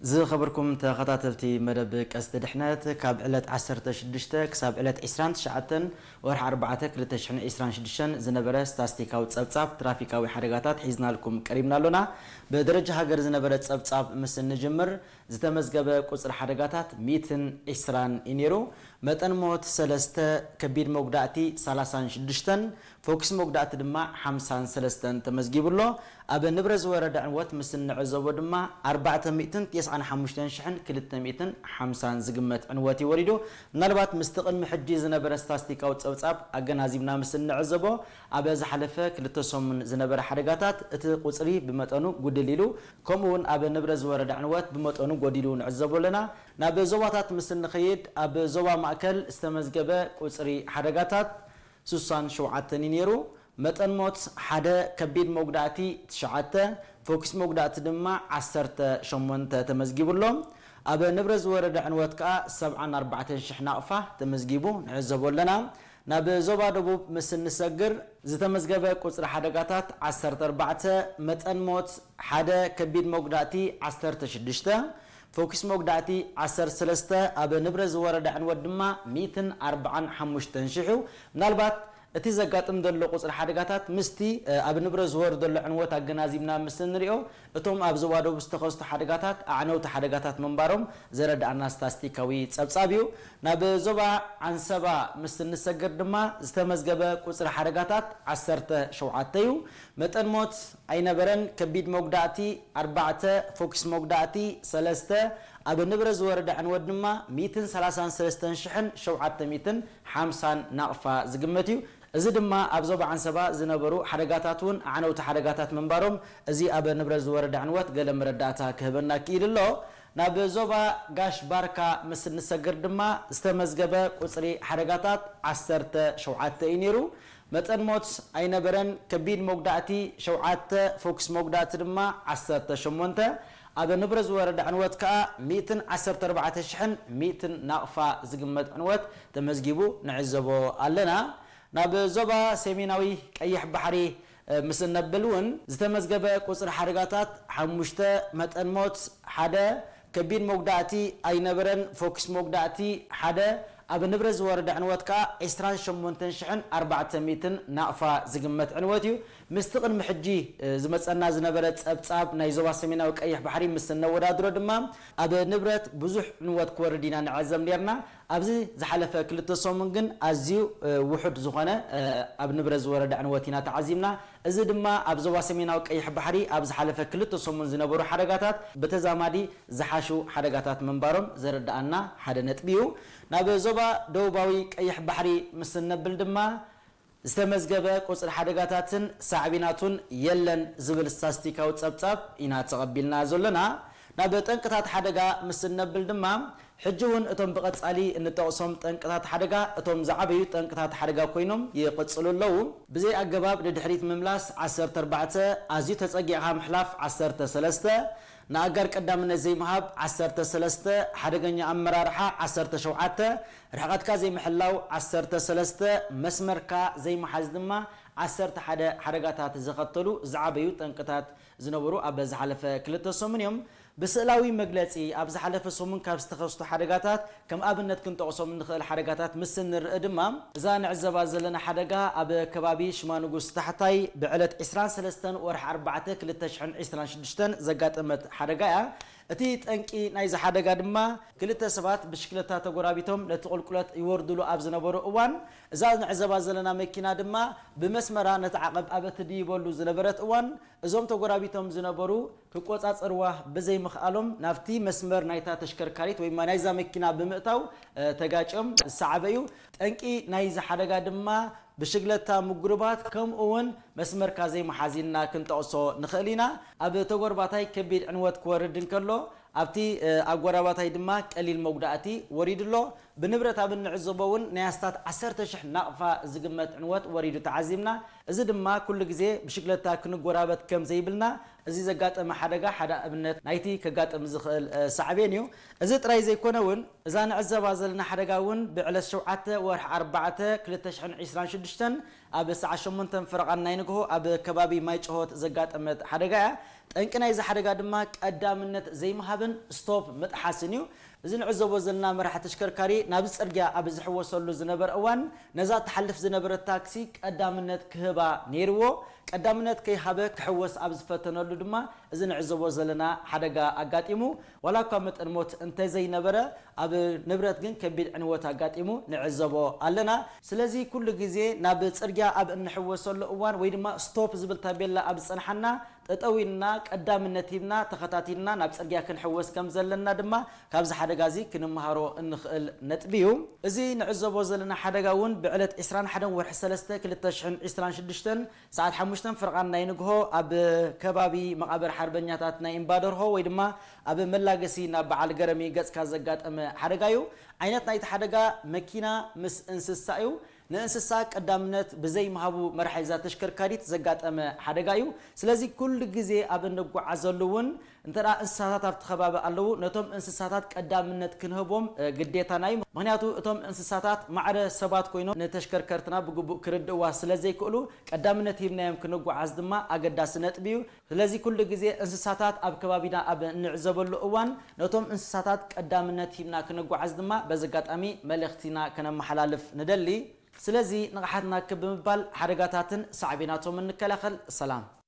ዝኸበርኩም ተኸታተልቲ መደብ ቀስቲ ድሕነት፣ ካብ ዕለት ዓሰርተ ሽዱሽተ ክሳብ ዕለት ዕስራን ትሽዓተን ወርሒ ኣርባዕተ ክልተ ሽሕን ዕስራን ሽዱሽተን ዝነበረ ስታስቲካዊ ጸብጻብ ትራፊካዊ ሓደጋታት ሒዝናልኩም ቀሪብና ኣሎና። ብደረጃ ሃገር ዝነበረ ጸብጻብ ምስ እንጅምር፣ ዝተመዝገበ ቁጽሪ ሓደጋታት ሚእትን ዕስራን እዩ ነይሩ። መጠን ሞት ሰለስተ፣ ከቢድ መጉዳእቲ ሰላሳን ሽዱሽተን፣ ፎክስ መጉዳእቲ ድማ ሓምሳን ሰለስተን ተመዝጊቡ ኣሎ። ኣብ ንብረት ዝወረደ ዕንወት ምስ እንዕዘቦ ድማ ኣርባዕተ ሚእትን ተስዓን ሓሙሽተን ሽሕን ክልተ ሚእትን ሓምሳን ዝግመት ዕንወት እዩ ወሪዱ። ምናልባት ምስቲ ቅድሚ ሕጂ ዝነበረ ስታስቲካዊ ጸብጻብ ኣገናዚብና ምስ እንዕዘቦ፣ ኣብ ዝሓለፈ ክልተ ሰሙን ዝነበረ ሓደጋታት እቲ ቁጽሪ ብመጠኑ ጉድል ኢሉ፣ ከምኡ እውን ኣብ ንብረት ዝወረደ ዕንወት ብመጠኑ ጎዲሉ ንዕዘቦ ኣለና። ናብ ዞባታት ምስ እንኸይድ፣ ኣብ ዞባ ማእከል ዝተመዝገበ ቁጽሪ ሓደጋታት ስሳን ሸውዓተን እዩ ነይሩ። መጠን ሞት ሓደ፣ ከቢድ መጉዳእቲ ትሽዓተ፣ ፎክስ መጉዳእቲ ድማ ዓሰርተ ሸሞንተ ተመዝጊቡ ኣሎ። ኣብ ንብረት ዝወረደ ዕንወት ከኣ ሰብዓን ኣርባዕተን ሽሕ ናቕፋ ተመዝጊቡ ንዕዘቦ ኣለና። ናብ ዞባ ደቡብ ምስ እንሰግር፣ ዝተመዝገበ ቁጽሪ ሓደጋታት ዓሰርተ ኣርባዕተ፣ መጠን ሞት ሓደ፣ ከቢድ መጉዳእቲ ዓሰርተ ሽዱሽተ፣ ፎክስ መጉዳእቲ ዓሰርተ ሰለስተ፣ ኣብ ንብረት ዝወረደ ዕንወት ድማ ሚእትን ኣርባዓን ሓሙሽተን ሽሕ እዩ። ምናልባት እቲ ዘጋጥም ዘሎ ቁጽሪ ሓደጋታት ምስቲ፣ እ፣ ኣብ ንብረት ዝወርድ ዘሎ ዕንወት ኣገናዚብና ምስ እንሪኦ፣ እቶም ኣብ ዞባ ደቡብ ዝተኸስቱ ሓደጋታት ኣዕነውቲ ሓደጋታት ምንባሮም ዘረድኣና ስታስቲካዊ ጸብጻብ እዩ። ናብ ዞባ ዓንሰባ ምስ እንሰግር ድማ ዝተመዝገበ ቁጽሪ ሓደጋታት ዓሰርተ ሸውዓተ እዩ። መጠን ሞት ኣይነበረን። ከቢድ መጉዳእቲ ኣርባዕተ፣ ፎክስ መጉዳእቲ ሰለስተ፣ ኣብ ንብረት ዝወረደ ዕንወት ድማ ሚእትን ሰላሳን ሰለስተን ሽሕን ሸውዓተ ሚእትን ሓምሳን ናቕፋ ዝግመት እዩ። እዚ ድማ ኣብ ዞባ ዓንሰባ ዝነበሩ ሓደጋታት እውን ኣዕነውቲ ሓደጋታት ምንባሮም፣ እዚ ኣብ ንብረት ዝወረደ ዕንወት ገለ መረዳእታ ክህበና ክኢሉ ኣሎ። ናብ ዞባ ጋሽ ባርካ ምስ እንሰግር ድማ ዝተመዝገበ ቁጽሪ ሓደጋታት ዓሰርተ ሸውዓተ እዩ ነይሩ። መጠን ሞት ኣይነበረን። ከቢድ መጉዳእቲ ሸውዓተ፣ ፎክስ መጉዳእቲ ድማ ዓሰርተ ሸሞንተ። ኣብ ንብረት ዝወረደ ዕንወት ከኣ ሚእትን ዓሰርተ ኣርባዕተ ሽሕን ሚእትን ናቕፋ ዝግመት ዕንወት ተመዝጊቡ ንዕዘቦ ኣለና። ናብ ዞባ ሰሜናዊ ቀይሕ ባሕሪ፣ እ፣ ምስ እነብል እውን ዝተመዝገበ ቁጽሪ ሓደጋታት ሓሙሽተ፣ መጠን ሞት ሓደ፣ ከቢድ መጉዳእቲ ኣይነበረን። ፎክስ መጉዳእቲ ሓደ፣ ኣብ ንብረት ዝወረደ ዕንወት ከኣ ዕስራን ሸሞንተን ሽሕን ኣርባዕተ ሚእትን ናቕፋ ዝግመት ዕንወት እዩ። ምስቲ ቅድሚ ሕጂ፣ እ፣ ዝመጸና ዝነበረ ጸብጻብ ናይ ዞባ ሰሜናዊ ቀይሕ ባሕሪ ምስ እነወዳድሮ ድማ፣ ኣብ ንብረት ብዙሕ ዕንወት ክወርድ ኢና ንዕዘብ ነርና። ኣብዚ ዝሓለፈ ክልተ ሰሙን ግን ኣዝዩ፣ እ፣ ውሑድ ዝኾነ፣ እ፣ ኣብ ንብረት ዝወረደ ዕንወት ኢና ተዓዚብና። እዚ ድማ ኣብ ዞባ ሰሜናዊ ቀይሕ ባሕሪ ኣብ ዝሓለፈ ክልተ ሰሙን ዝነበሩ ሓደጋታት ብተዛማዲ ዝሓሹ ሓደጋታት ምንባሮም ዘረድኣና ሓደ ነጥቢ እዩ። ናብ ዞባ ደቡባዊ ቀይሕ ባሕሪ ምስ እነብል ድማ፣ ዝተመዝገበ ቁጽሪ ሓደጋታትን ሳዕቤናቱን የለን ዝብል ስታስቲካዊ ጸብጻብ ኢና ተቐቢልና ዘሎና። ናብ ጠንቅታት ሓደጋ ምስ እነብል ድማ፣ ሕጂ እውን እቶም ብቐጻሊ እንጠቕሶም ጠንቅታት ሓደጋ፣ እቶም ዝዓበዩ ጠንቅታት ሓደጋ ኮይኖም ይቕጽሉ ኣለዉ። ብዘይ ኣገባብ ንድሕሪት ምምላስ ዓሰርተ ኣርባዕተ፣ ኣዝዩ ተጸጊዕካ ምሕላፍ ዓሰርተ ሰለስተ፣ ንኣጋር ቀዳምነት ዘይምሃብ ዓሰርተ ሰለስተ፣ ሓደገኛ ኣመራርሓ ዓሰርተ ሸውዓተ፣ ርሕቐትካ ዘይምሕላው ዓሰርተ ሰለስተ፣ መስመርካ ዘይምሓዝ ድማ ዓሰርተ ሓደ ሓደጋታት ዘኸተሉ ዝዓበዩ ጠንቅታት ዝነበሩ ኣብ ዝሓለፈ ክልተ ሰሙን እዮም። ብስእላዊ መግለጺ፣ ኣብ ዝሓለፈ ሰሙን ካብ ዝተኸስቱ ሓደጋታት ከም ኣብነት ክንጠቕሶም እንኽእል ሓደጋታት ምስ እንርኢ ድማ፣ እዛ ንዕዘባ ዘለና ሓደጋ ኣብ ከባቢ ሽማ ንጉስ ታሕታይ ብዕለት ዕስራን ሰለስተን ወርሒ ኣርባዕተ ክልተ ሽሕን ዕስራን ሽዱሽተን ዘጋጠመት ሓደጋ እያ። እቲ ጠንቂ ናይዚ ሓደጋ ድማ፣ ክልተ ሰባት ብሽክለታ ተጎራቢቶም ነቲ ቁልቁለት ይወርድሉ ኣብ ዝነበሩ እዋን፣ እዛ ንዕዘባ ዘለና መኪና ድማ ብመስመራ ነቲ ዓቐብ ኣብ እትድይበሉ ዝነበረት እዋን፣ እዞም ተጎራቢቶም ዝነበሩ ክቆጻጸርዋ ብዘይምኽኣሎም፣ ናብቲ መስመር ናይታ ተሽከርካሪት ወይ ናይዛ መኪና ብምእታው፣ እ፣ ተጋጭዮም ዝሰዓበ እዩ። ጠንቂ ናይዚ ሓደጋ ድማ ብሽግለታ ምጉርባት፣ ከምኡ እውን መስመርካ ዘይምሓዝ ኢልና ክንጠቕሶ ንኽእል ኢና። ኣብ ተጎርባታይ ከቢድ ዕንወት ክወርድ እንከሎ፣ ኣብቲ፣ እ፣ ኣጎራባታይ ድማ ቀሊል መጉዳእቲ ወሪዱ ኣሎ። ብንብረት ኣብ እንዕዘቦ እውን ናይ ኣስታት ዓሰርተ ሽሕ ናቕፋ ዝግመት ዕንወት ወሪዱ ተዓዚብና። እዚ ድማ ኩሉ ግዜ ብሽግለታ ክንጎራበት ከም ዘይብልና፣ እዚ ዘጋጠመ ሓደጋ ሓደ ኣብነት ናይቲ ከጋጥም ዝኽእል፣ እ፣ ሳዕቤን እዩ። እዚ ጥራይ ዘይኮነ እውን፣ እዛ ንዕዘባ ዘለና ሓደጋ እውን ብዕለት ሸውዓተ ወርሒ ኣርባዕተ ክልተ ሽሕን ዕስራን ሽዱሽተን ኣብ ሰዓት ሸሞንተ ፈረቓን ናይ ንግሆ ኣብ ከባቢ ማይ ጭሆት ዘጋጠመት ሓደጋ እያ። ጠንቂ ናይዚ ሓደጋ ድማ ቀዳምነት ዘይምሃብን ስቶፕ ምጥሓስን እዩ። እዚ ንዕዘቦ ዘለና መራሒ ተሽከርካሪ ናብዚ ጽርግያ ኣብ ዝሕወሰሉ ዝነበረ እዋን፣ ነዛ ትሓልፍ ዝነበረት ታክሲ ቀዳምነት ክህባ ነይርዎ። ቀዳምነት ከይሃበ ክሕወስ ኣብ ዝፈተነሉ ድማ እዚ ንዕዘቦ ዘለና ሓደጋ ኣጋጢሙ። ዋላ እኳ መጠን ሞት እንተዘይነበረ፣ ኣብ ንብረት ግን ከቢድ ዕንወት ኣጋጢሙ ንዕዘቦ ኣለና። ስለዚ ኩሉ ግዜ ናብ ጽርግያ ኣብ እንሕወሰሉ እዋን ወይ ድማ ስቶፕ ዝብል ታቤላ ኣብ ዝጸንሓና፣ ጠጠው ኢልና ቀዳምነት ሂብና ተኸታቲልና ናብ ጽርግያ ክንሕወስ ከም ዘለና ድማ ካብዚ ሓደጋ እዚ ክንመሃሮ እንኽእል ነጥቢ እዩ። እዚ ንዕዘቦ ዘለና ሓደጋ እውን ብዕለት ዕስራን ሓደን ወርሒ ሰለስተ ክልተ ሽሕን ዕስራን ሽዱሽተን ሰዓት ሓሙሽተ ፍርቓን ናይ ንግሆ ኣብ ከባቢ መቓብር ሓርበኛታት ናይ እምባደርሆ ወይ ድማ ኣብ መላገሲ ናብ በዓል ገረሚ ገጽካ ዘጋጠመ ሓደጋ እዩ። ዓይነት ናይቲ ሓደጋ መኪና ምስ እንስሳ እዩ። ንእንስሳ ቀዳምነት ብዘይምሃቡ መራሒ እዛ ተሽከርካሪት ዘጋጠመ ሓደጋ እዩ። ስለዚ ኩሉ ግዜ ኣብ እንጓዓዘሉ እውን እንተ ደኣ እንስሳታት ኣብቲ ከባቢ ኣለዉ፣ ነቶም እንስሳታት ቀዳምነት ክንህቦም፣ እ፣ ግዴታና እዩ። ምኽንያቱ እቶም እንስሳታት ማዕረ ሰባት ኮይኖም ንተሽከርከርትና ብግቡእ ክርድእዋ ስለ ዘይክእሉ፣ ቀዳምነት ሂብናዮም ክንጓዓዝ ድማ ኣገዳሲ ነጥቢ እዩ። ስለዚ ኩሉ ግዜ እንስሳታት ኣብ ከባቢና ኣብ እንዕዘበሉ እዋን፣ ነቶም እንስሳታት ቀዳምነት ሂብና ክንጓዓዝ ድማ በዚ ኣጋጣሚ መልእኽትና ከነመሓላልፍ ንደሊ። ስለዚ ንቕሓት ናክብ ብምባል ሓደጋታትን ሳዕቤናቶምን ንከላኸል። ሰላም።